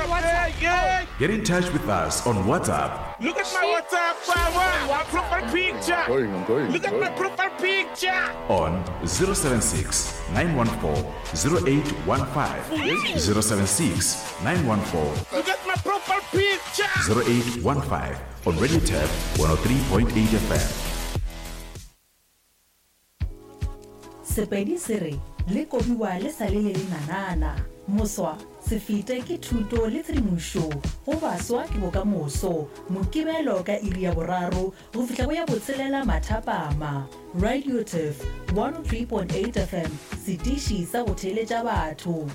on WhatsApp. Yeah. Get in touch with us on WhatsApp Look at my WhatsApp. My profile picture. I'm going, I'm going. Look at my profile picture. on 076 914 0815. 076 914 Look at my profile picture. 0815 on Radio Tab 103.8 FM. Sepedi se re, Le kobiwa le sa le le lenanana. Moswa, se fete ke thuto le tshedimošo go baswa ke bokamoso. Mokibelo ka iri ya boraro go fihla go ya botshelela mathapama. Radio Turf 103.8 FM, setiši sa go theeletša batho.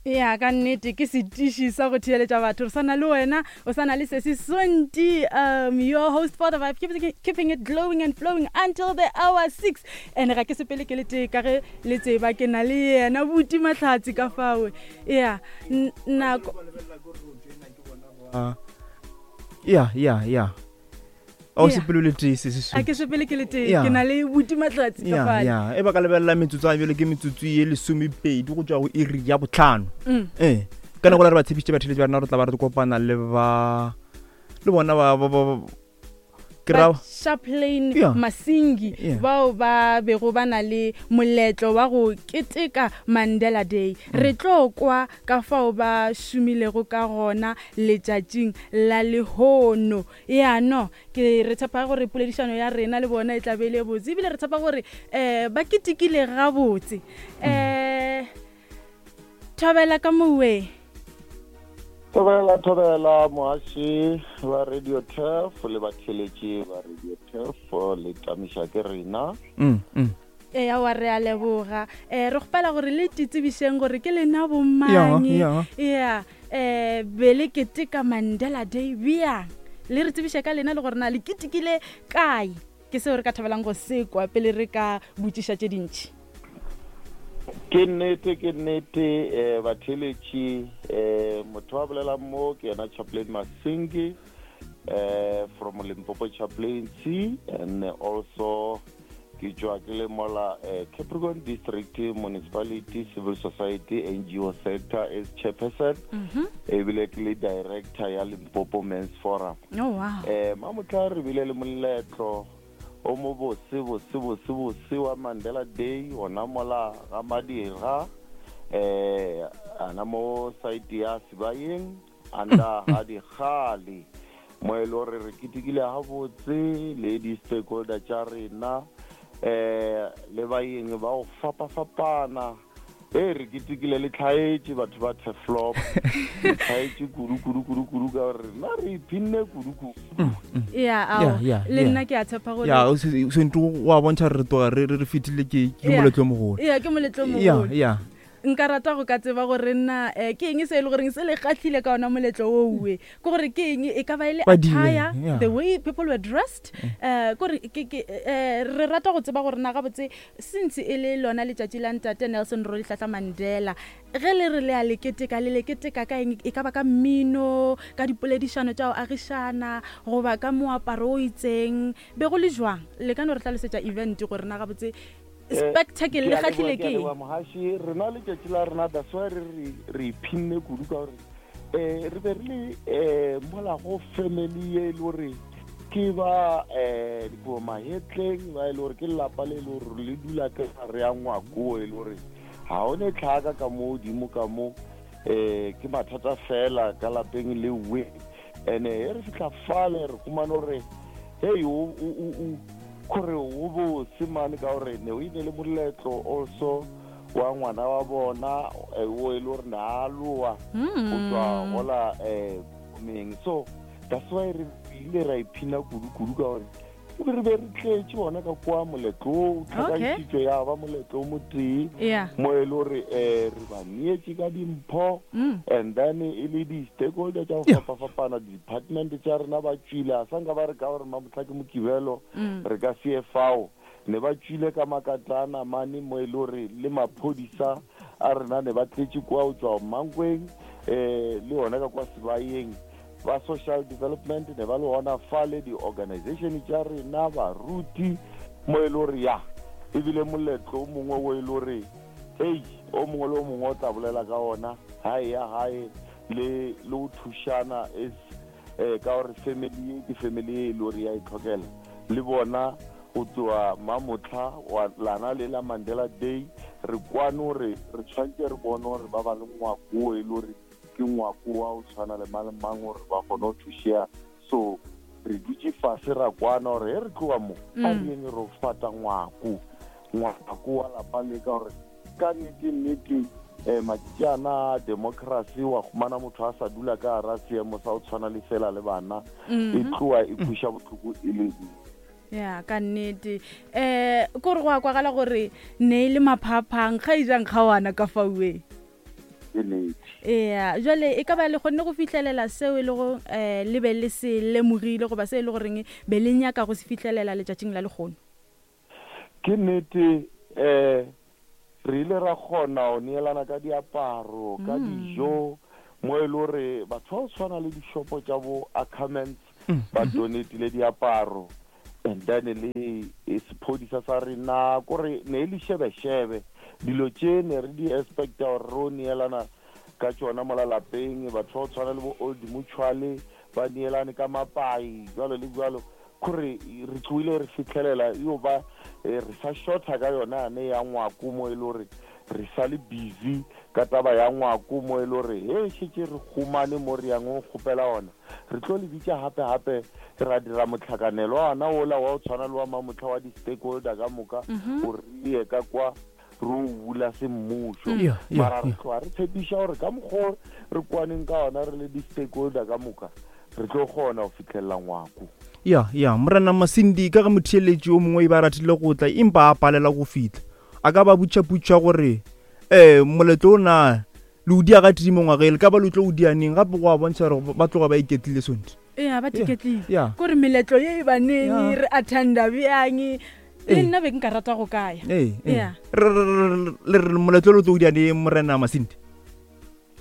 Ya, ka nnete ke setiši sa go theeletša batho. Re sa na le wena, o sa na le Sesi Sonti, um, your host for the vibe, keeping, keeping it glowing and flowing until the hour 6. And ga ke sepele ke le tee ka ge le tseba ke na le yena Buti Mahlatse ka fao. Ya, nako. Ya, ya, ya. A o Yeah. sepele o le tee se se A ke sepele ke le tee, Yeah. ke na le Buti Mahlatse ka ya fale. ya e ba ka lebelela metsotso a bjale ke metsotso ye lesomepedi go tšwa go iri ya botlhano Mm. ee ka nako la re ba tshepišitše batheletši ba rena re tla ba re kopana le ba le bona ba ba- ba- ke ra Ba Chaplain Yeah. Masingi Yeah. bao ba bego ba na le moletlo wa go keteka Mandela Day. Mm. Re tlo kwa ka fao ba šomilego ka gona letšatšing la lehono. Ya no, ke re tshepa gore poledišano ya rena le bona e tla be e le botse, ebile re tshepa gore ba ketekile gabotse. Mm. Thobela ka mowe. Thobela, thobela moaši ba Radio Turf le batheletši ba Radio Turf le tamiša ke rena. Mm, mm. Eya wa re a leboga. Re kgopela gore le titsebišeng gore ke lena bomang. Ya, Ya, be le keteka Mandela Day bjang? Le re tsebiše ka lena le gore na le ketekile kae? Ke seo re ka thabelang go se kwa pele re ka botšiša tše dintši. Ke nnete, ke nnete, batheletši, motho wa bolelang mo ke yena Chaplain Masingi, from Limpopo Chaplaincy, and also ke tšwa ke le mola, Capricorn District Municipality Civil Society NGO Sector as chairperson, ebile ke le director ya Limpopo Men's Forum. Oh, wow. Mamotla re bile le moletlo o mo bose, bose, bose, bose wa Mandela Day ona mola ga Madira, ana mo site ya Sibayeng anda ga Dikgale, mo e le gore re ketekile gabotse le di-stakeholder tša rena, le baeng ba go fapafapana. Ee, re ketekile le tlhaetše batho ba Turfloop. Le tlhaetše kudu, kudu, kudu, kudu, ka gore rena re iphinne kudu, kudu. Ya, ao, Ya, ya, le ya. nna ke a tshepa gore Ya, o se- o sentse wa bontšha re tloga re, re, re fetile ke, ke Ya. moletlo o mogolo. Ya, ke moletlo o Ya, mogolo. ya. Nka rata go ka tseba gore nna, ke eng se e le goreng se le kgahlile ka ona moletlo oo e? Ke gore ke eng, e ka ba e le Ba dile, attire, ya. the way people were dressed, kore ke, ke, re rata go tseba gore na gabotse since e le lona letšatši la ntate Nelson Rolihlahla Mandela, ge le re le a le keteka, le le keteka ka eng? E ka ba ka mmino, ka dipoledišano tša go agišana, goba ka moaparo o itseng, be go le jwang? Le ka no re hlalosetša event gore na gabotse spectacle le Ke a leboha, kgahlile ke a ke eng? leboha, mohaši. Rena letšatši la rena, that's why re re, re iphinne kudu ka gore, re be re le, mola go family ye e le gore ke ba, dikobo mahetleng, ba e le gore ke lelapa le e le gore le dula ka gare ya ngwako e le gore ga o ne tlhaka ka mo godimo ka mo, ke mathata fela ka lapeng le we. And-e he re fitlha fale re humane gore, hey, o, o, o, o, kore o bose mane ka gore ne o ine le moletlo also wa ngwana wa bona, o e le gore ne a loa go tswa gola, meng. So that's why re ile ra iphina kudu-kudu ka gore re be re tletše bona ka kwa moletlo o, Okay. tlhakantšhitšwe ya ba moletlo o motee, Yeah. mo e le gore, re ba neetše ka dimpho, Mm. and then e le di-stakeholder tša go Yeah. fapafapana, di-department tša rena ba tšwile, a sa nka ba re ka gore mamohla ke Mokibelo, Mm. re ka se ye fao. Ne ba tšwile ka makatana mane mo e le gore le maphodisa a rena ne ba tletše kwa go tšwa Mankweng, le yona ka kwa Sibayeng. Ba social development ne ba le gona fale, di-organization tša rena, baruti, Mo e le gore ya ebile moletlo o mongwe o e le gore ei o mongwe le o mongwe o tla bolela ka ona gae ya gae le le o thušana is eh ka gore family ye ke family ye e le gore ya e tlhokela le bona go tloa mamotlha wa lana le la Mandela Day re kwane gore re tshwanetse re bone gore ba ba le ngwako o e le gore ke ngwako wa o tshwana le mang le mang gore ba kgone go thušea. So re dutše fase ra kwana gore ge re tloga mo a re yeng re fata ngwako, ngwako wa lapa le, ka gore ka nnete nnete um matšatši ana a democracy wa humana motho a sa dula ka gara seemo sa go tshwana le sela le bana, e tloa e kweša bohloko e le ruri. Ya, ka nnete. Um kore go a kwagala gore ne e le maphaphang ga e jang kgawana ka fauwe. Ke nnete. Ea, jwale e ka ba le kgonne go fihlelela seo e lego um le be le se lemogile goba se e le goreng be le nyaka go se fihlelela letšatšing la lehono? Ke nnete, um re ile ra kgona go neelana ka diaparo, ka dijo, mo e le gore batho ba go tshwana le dishopo tša bo Ackermans ba donatile diaparo, and then le sephodisa sa rena, kore ne e le šebešebe dilo tše ne re di expecta gore ro neelana ka tšona mola lapeng. Batho ba go tshwana le bo Old Mutual ba neelane ka mapai jwalo le jwalo, kore re tloile re fihlelela yo ba re sa shorta ka yona yane ya ngwako, mo e le gore re sa le busy ka taba ya ngwako, mo e le gore he šetše re humane mo re yang go kgopela ona, re tlo le bitša gape gape ra dira motlhakanelo wa ona ola wa o tshwana le wa mamotlha wa di-stakeholder ka moka, gore re ye ka kwa re o bula semmušo. Mara re tloga re tshepiša gore ka mokgwa re kwaneng ka ona re le di-stakeholder ka moka, re tlo kgona go fitlhelela ngwako. Ya, ya, Morena Masindi, ka ge motheeletši o mongwe e ba ratile go tla empa a palela go fihla, a ka ba butšhaputšha gore um moletlo o na le o dia ga tee mo ngwageng, le ka ba le tlo o dia neng? Gape go a bontšha gore ba tloga ba iketlile sonti. Ee, ba iketlile. Kore meletlo ye e baneng re attenda bjang, le nna be nka rata go kaya. Ee, le re moletlo le tlo o dia neng, Morena Masindi?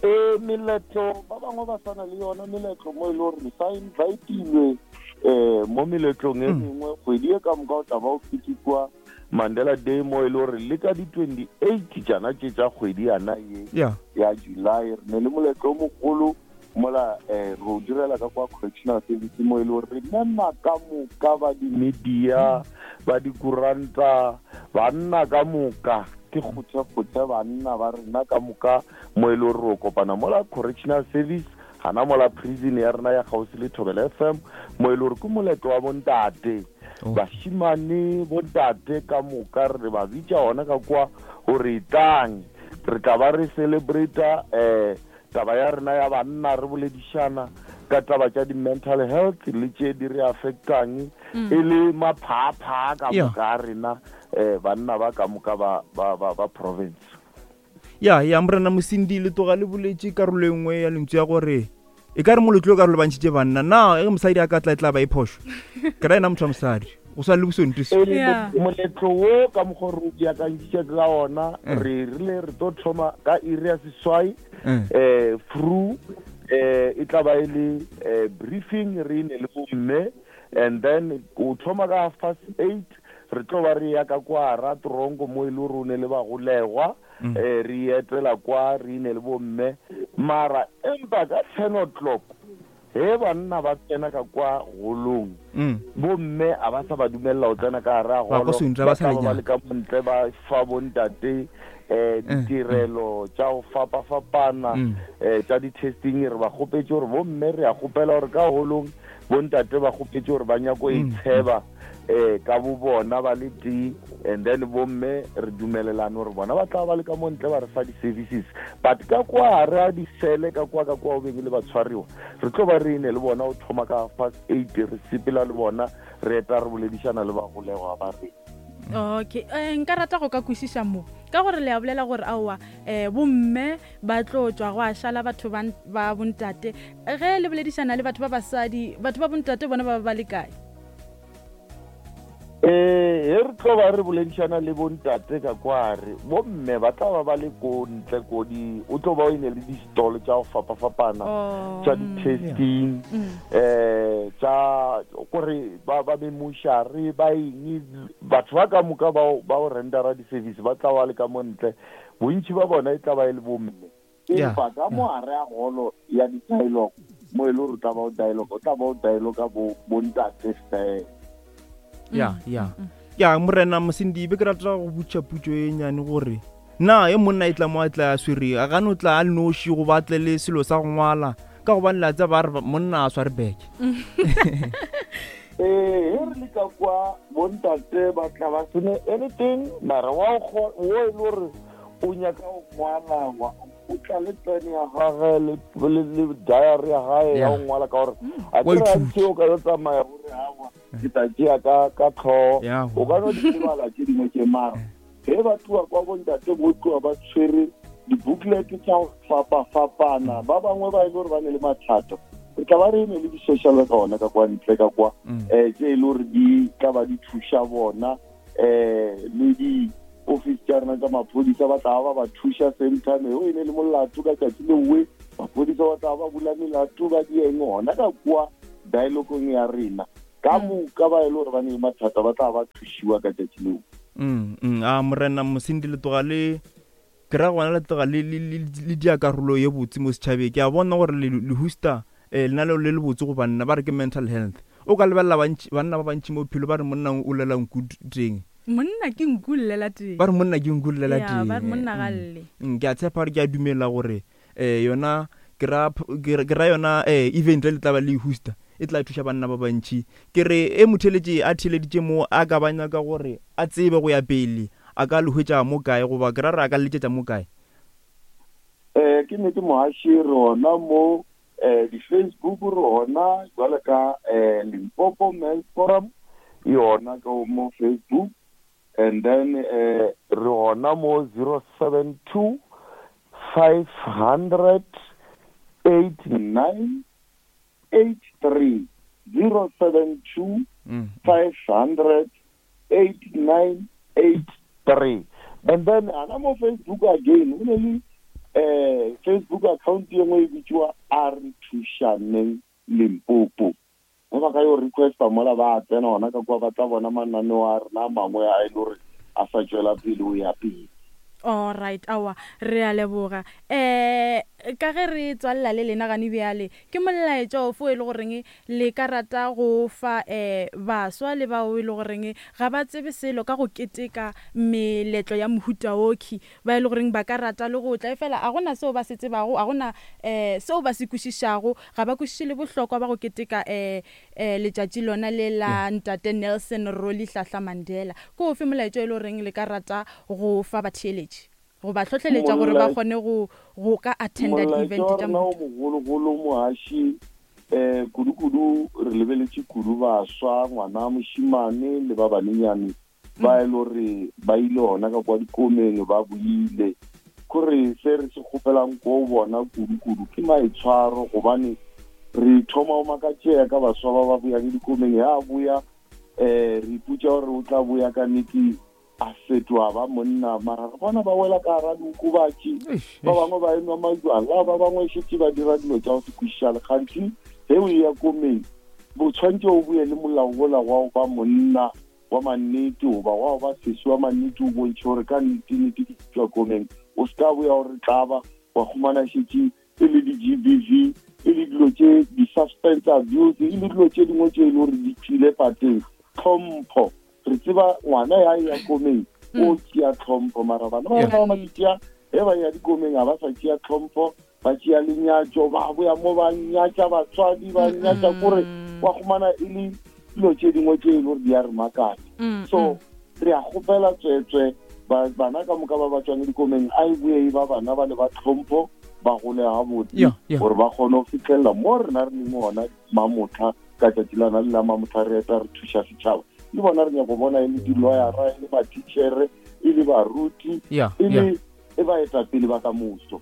Ee, meletlo ba bangwe ba sana le yona meletlo mo e le gore re sa invitilwe um mo meletlong e mengwe kgwedi e ka moka o tla ba o ketekwa Mandela Day, mo e le gore le ka di-28 tšana tše tša kgwedi yana ye ya July re ne le moletlo o mogolo mola um re o direla ka kwa Correctional Service, mo e le gore re mema ka moka ba di-media, ba dikuranta, banna ka moka, ke kgothekgothe banna ba rena ka moka, mo e le gore re kopana mola Correctional Service gana mola prison ya rena ya kgauswi le Thobela FM, mo e le gore ke moletlo wa bontate, bashimane, bontate ka moka re ba bitša ona ka kwa gore etlang, re tla ba re celebrata um taba ya rena ya banna, re boledišana ka taba tša di-mental health le tše di re affectang e le maphaaphaa ka moka a rena, um banna ba ka moka ba province. Ya, ya, Morena Mosindi, le tloga le boletše karolo e nngwe ya lentswe ya gore e ka re moletlo o ka re lebantšhitše banna. Na ge mosadi a ka tla e tla ba e phošo? Ke ra ena motho wa mosadi, go swana le bosonto se. Moletlo wo ka mokgwa re o beakantšitše ka ona, re rile re tlo thoma ka iri ya 8, fru e tla ba e le briefing, re ne le bomme, and then o thoma ka 8:30 re tlo ba re ya ka kwa ra tronko mo e le gore o ne le bagolegwa, re etela kwa re ne le bomme, mara empa ka 10 o'clock he banna ba tsena ka kwa golong, bomme a ba sa ba dumelela go tsena ka gare a golo, ba tla ba le ka montle ba fa bontate ditirelo tša go fapafapana tša di-testing. Re ba kgopetše gore bomme re a kgopela gore ka holong bontate ba kgopetše gore ba nyako e tsheba ka bo bona ba le tee, and then bomme re dumelelane gore bona ba tla ba le ka mo ntle ba re fa di-services, but ka kwa re a disele ka kwa ka kwa o beng le batshwariwa re tlo ba re ne le bona o thoma ka 8:30 re sepela le bona re eta re boledišana le bagolegwa ba re. Okay, nka rata go ka kwešiša mo ka gore le a bolela gore aowa bomme ba tlo tšwa go a šala batho ba bontate, ge le boledišana le batho ba basadi, batho ba bontate bona ba ba le kae? Ee, he re tlo ba re boledišana le bontate ka kware, bomme ba tla ba ba le ko ntle ko di, o tlo ba o ene le di-stall tša go fapafapana Oh, tša di-testing, eh tša kore ba ba memošare ba eng, batho ba ka moka ba ba o rendera di-service ba tla ba le ka mo ntle, bontši ba bona e tla ba e le bomme. Empa ka mo gare a golo ya di-dialogue, mo e le gore o tla ba o dialogue, o tla ba o dialogue bo bontate fela. Ya, ya. Ya, morena Mosindi, be ke rata go botša putšo e nyane gore na e monna e tla mo a tla a swere a gane o tla a le noši goba a tle le selo sa go ngwala ka gobane la tsa ba re monna a sware beke. Ee, he re le ka kwa bontate ba tla ba sene anything mara wa o e le gore o nyaka go ngwala wa o tla le pene ya gage le le diary ya gae ya go ngwala ka gore a Wa ke ithuta. gantši o ka yo tsamaya o re awa ke tla tšea ka ka tlhogo Ya. o ka no di lebala tše dingwe tše mara ge ba tloa kwa bontate bo tloa ba tshwere di-booklet tša go fapafapana ba bangwe ba e le gore ba ne le mathata re tla ba re ne le di-social worker gona ka kwa ntle ka kwa um tše e le gore di tla ba di thuša bona um le di-office tša rena tša maphodisa ba tla ba ba thuša same time o e ne le molato ka tšatši lewe maphodisa ba tla ba bula melato ba dieng gona ka kua dialogong ya rena ka moka ba e le gore ba ne le mathata ba tla ba thušiwa ka tšatši leo. A morena Mosindi le tloga le ke ra gona le tloga le le le le dia karolo ye botse mo setšhabeng. Ke a bona gore le le hosta eh, lenaneo le le botse go banna ba re ke mental health. O ka lebelela bantši banna ba bantši mo bophelo ba re monna o llela nku teng. Monna ke nku llela teng. Ba re monna ke nku llela Ya, teng. ba re monna ga lle. Ke a tshepa gore ke a dumela gore eh yona ke ra ke ra yona eh event le tla ba le hosta e tla thuša banna ba bantši. Ke re e motheletše a theleditše mo a ka ba nyaka gore a tsebe go ya pele a ka le hwetša mo kae goba ke ra re a ka le letšetša mo kae. Eh ke nnete mohaši re gona mo eh di-Facebook re gona jwale ka eh Limpopo Men's Forum e gona ka mo Facebook and then eh re gona mo 072 500 89 83 072 500 8983 and then ana mo Facebook again o ne le eh Facebook account ye nngwe e bitsiwa a re thušaneng Limpopo ge ba ka yo requesta mola ba tsena gona ka kwa ba tla bona mananeo a rena a mangwe a e le gore a sa tšwela pele o ya pele. Alright, aowa, re a leboga. Um ka ge re tswalela le lena gane bjale, ke molaetša ofe o e le goreng le ka rata go o fa um baswa le bao e le goreng ga ba tsebe selo ka go keteka meletlo ya mohuta okhwi, ba e le goreng ba ka rata le go tla efela ga go na seo ba se tsebago, ga go na um seo ba se kwešišago, ga ba kwešiše le bohlokwa ba go keteka um letšatši lona le la Ntate Nelson Rolihlahla Mandela. Ke ofe molaetša o e le goreng le ka rata go fa batheeletši go ba hlohleletša gore ba kgone go go ka attenda di-event Molaetša wa tša rena o mohuta? mogologolo mohaši um kudu-kudu re lebeletše kudu baswa, ngwana mošemane le ba banenyane ba e le gore ba ile gona ka kwa dikomeng ba boile. Kore se re se kgopelang ko bona kudu-kudu ke maitshwaro, gobane re thoma go makatšea ka baswa ba ba boyang dikomeng. Ya boya um re ipotša gore o tla boya ka nnete a fetoga ba monna, mara re bona ba wela ka gara diokobatši, ba bangwe ba enwa majwala, ba bangwe šetše ba dira dilo tša go se kwešišale. Kgantši ge o eya komeng bo tshwanetse o boye le molao wola wa go ba monna wa mannete goba wa go ba sesi wa mannete, o bontšhe gore ka nnete-nnete ke tšwa komeng. O se ka boya gore tlaba wa humana šetše e le di-G_B_V, e le dilo tše di-substance abuse, e le dilo tše dingwe tše e le gore di tšwile pateng. Tlhompho, re tseba ngwana ya ya komeng o tšea tlhompho, mara bana ba rena ba matšatši a ge ba ya dikomeng ga ba sa tšea tlhompho, ba tšea lenyatšo, ba boya mo ba nyatša batswadi, ba nyatša kore wa humana e le dilo tše dingwe tše e le gore di a re makatša. So re a kgopela tswetswe bana ka moka ba ba tšwang dikomeng a e boe e ba bana ba le ba tlhompho, ba gole gabotse gore ba kgone go fitlhelela mo rena re leng gona mamotlha ka tšatši la na le la mamotlha re eta re thuša setšhaba. Le bona re nyako bona e le di-lawyera, e le ba-teachere, e le baruti, e le e baetapele ba ka moso.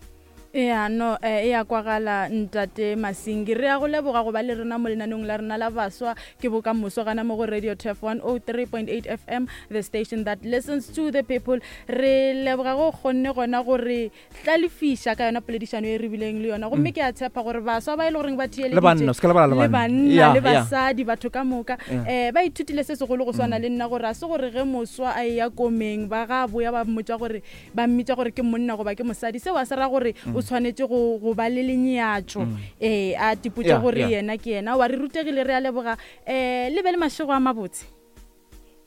Ya no, e ya kwagala Ntate Masingi. Re ya go leboga go ba le rena mo lenaneong la rena la Baswa ke Bokamoso gana mo go Radio Turf 103.8 FM, the station that listens to the people. Re leboga go kgonne gona go re hlalefiša ka yona poledišano e re bileng le yona. Gomme ke a tshepa gore baswa ba e le goreng ba Mm. Le banna, theeleditše, o se ka lebala le le banna. banna, Ya, le ya. basadi, batho ka moka, Ya. ba ithutile se segolo go swana le nna gore a se gore ge moswa a eya komeng ba ga boya ba mmotša gore ba mmitša gore ke monna goba ke mosadi, seo a se ra gore o tshwanetše go go ba le lenyatšo, ee, a tipotše Yeah, gore yeah. yena ke yena. Wa re rutegile, re a leboga. Le be le mašego a mabotse.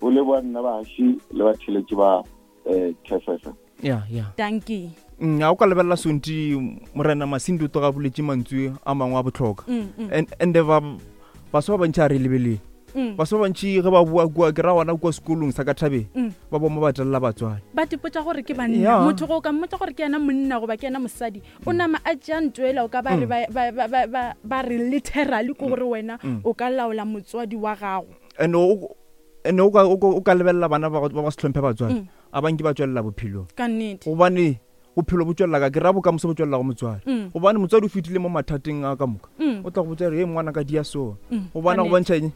O leboa nna bahaši le batheletši ba Turf FM. Ya, ya. Dankie. A o ka lebelela Sonti Morena Masindi o tloga boletše mantswe a mangwe a bohlokwa. And ba baswa ba bantši a re lebeleng. Baswa ba bantši ge ba boa kua, ke ra gona kua sekolong sa ka thabeng, ba boma ba telela batswadi. Ba tipotša gore ke banna. Yeah. Motho go ka mmotša gore ke yena monna goba ke yena mosadi, o nama a tšea ntwela, o ka ba re ba re literally ke gore wena o ka laola motswadi wa gago. And o ka lebelela bana ba ba se hlomphe batswadi, a ba nke ba tšwelela bophelong. Ka nnete. Gobane bophelo bo tšwelela ka, ke ra bokamoso bo tšwelela go motswadi. Gobane motswadi o fetile mo mathateng a ka moka. O tla go botša gore, Hei, ngwana ka dia so. Gobane Ka go nnete. bontšha eng?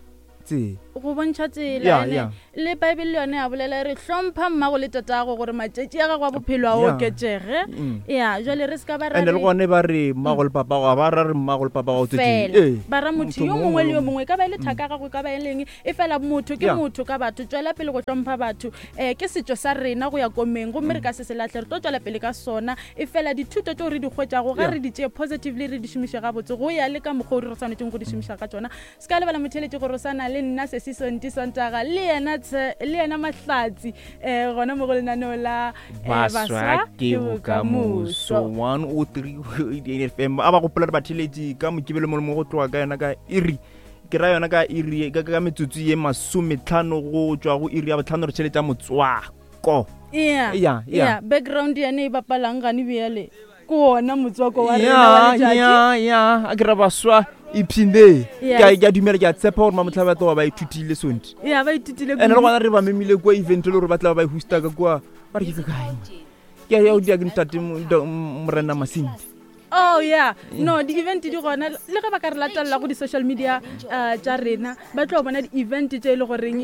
Tsela. Go bontšha tsela, Yeah, ene yeah. le Bible le yone ya bolela e re hlompha mmago le tatago gore matšatši a gago a bophelo a Yeah. oketšege. Ya, jwale re se ka ba ra And le re gone ba re mmago le papa ga ba ra re mmago le papa ga o tswetše. fela. Ee. Ba ra motho yo mongwe le yo mongwe, e ka ba e le thaka ya gago, e ka ba e leng, e fela motho ke Yeah. motho ka batho. Tšwela pele go hlompha batho. Ke setšo sa rena go ya komeng, gomme re ka se se lahle, re tlo tšwela pele ka sona. E fela dithuto tšeo re di hwetšago ga Yeah. re di tšee positively, re di šomiše gabotse go ya le ka mokgwa o re swanetšeng go di šomiša ka tšona. Se ka lebala motheeletši gore o sana le nna Sesi Sonti Sontaga le yena le yena Mahlatsi, gona mo go lenaneo la, Baswa ke Bokamoso 103 FM. A ba gopola re batheeletši ka Mokibelo mo le mo go tloga ka yona ka iri, ke ra yona ka iri, ka metsotso ye 50 go tšwa go iri ya botlhano re tšheletša motswako. Yeah, Yeah, yeah. yeah. Background yane e bapalang gane bjale ke wona motswako wa rena wa Yeah, letšatši. yeah, yeah. A ke ra baswa ipshine. Yes. Ke a dumela, ke a tshepa gore mamotlha ba tloga ba ithutile Sonti. Yeah, ba ithutile And le kudu. gona re ba memile kua event e le gore ba tla ba e hosta ka kua. Ba re ke kae? Ke a ya o dia ke ntate Morena Masindi. Oh yeah, no, di-event di gona le ge ba ka re latelela go di-social media tša rena, ba tlo bona di-event tše e le goreng,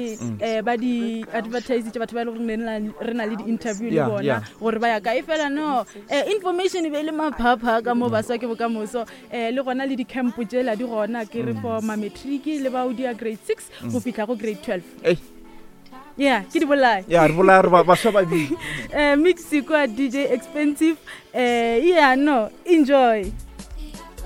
ba di advertise tše batho ba e le goreng re na le di-interview le Yeah, bona yeah. gore ba ya kae. Fela no, information e be e le maphapha ka mo Baswa ke Bokamoso. Le gona le di-camp tšela di gona, ke re for ma-matric le bao dia grade 6 go fihla go grade 12. Ei. Yeah, ke di bolae. Ya, re bolaya re baswa ba bile. Mix kwa DJ Expensive. Yeah, no, enjoy.